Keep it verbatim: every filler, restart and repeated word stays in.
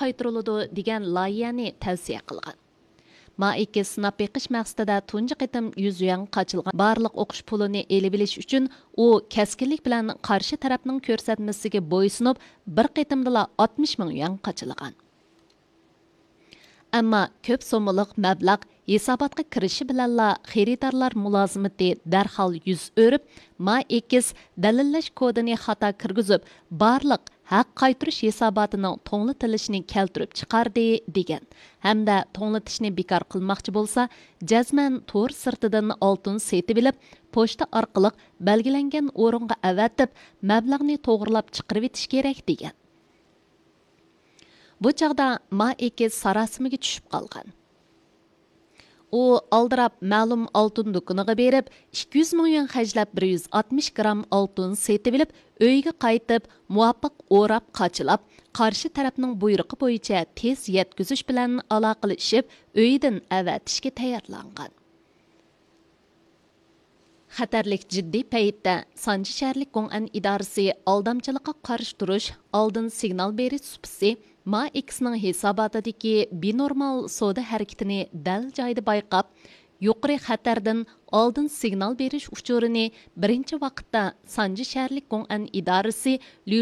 قايتۇرۇلىدۇ دېگەن لايىھەنى تەۋسىيە قىلغان. ما ئېكس سىناپ بېقىش مەقسىتىدە تۇنجى قېتىم يۈز يۈەنگە قاچىلىغان بارلىق ئوقۇش پۇلىنى ئېلىۋېلىش ئۈچۈن، ئۇ كەسكىنلىك بىلەن قارشى تەرەپنىڭ كۆرسەتمىسىگە بويسۇنۇپ، بىر قېتىمدىلا ئاتمىش مىڭ يۈەن قاچىلىغان. ئەمما كۆپ سوممىلىق مەبلەغ ھېساباتقا كىرىشى بىلەنلا، خېرىدارلار مۇلازىمىتى دەرھال يۈز ئۆرۈپ، ما ئېكس دەلىللەش كودىنى خاتا كىرگۈزۈپ، بارلىق ھەق قايتۇرۇش ھېساباتىنىڭ توڭلىتىلىشىنى كەلتۈرۈپ چىقاردى، دېگەن ھەمدە توڭلىتىشنى بىكار قىلماقچى بولسا، جەزمەن تور سىرتىدىن ئالتۇن سېتىۋېلىپ، پوچتا ئارقىلىق بەلگىلەنگەن ئورۇنغا ئەۋەتىپ، مەبلەغنى توغرىلاپ چىقىرىۋېتىش كېرەك، دېگەن. بۇ چاغدا ما ئېكس ساراسىمىگە چۈشۈپ قالغان. ئۇ ئالدىراپ مەلۇم ئالتۇن دۇكىنىغا بېرىپ، ئىككى يۈز مىڭ يۈەن خەجلەپ، بىر يۈز ئاتمىش گرام ئالتۇن سېتىۋېلىپ، ئۆيىگە قايتىپ، مۇۋاپىق ئوراپ قاچىلاپ، قارشى تەرەپنىڭ بۇيرۇقى بويىچە تېز يەتكۈزۈش بىلەن ئالاقىلىشىپ، ئۆيىدىن ئەۋەتىشكە تەييارلانغان. خەتەرلىك جىددىي پەيتتە سانجى شەھەرلىك گوڭئەن ئىدارىسى ئالدامچىلىققا قارشى تۇرۇش، ئالدىن سىگنال بېرىش سۇپىسى ما ئېكسنىڭ ھېساباتىدىكى بىنورمال سودا ھەرىكىتىنى دەل جايىدا بايقاپ، يۇقىرى خەتەردىن ئالدىن سىگنال بېرىش ئۇچۇرىنى بىرىنچى ۋاقىتتا سانجى شەھەرلىك گوڭئەن ئىدارىسى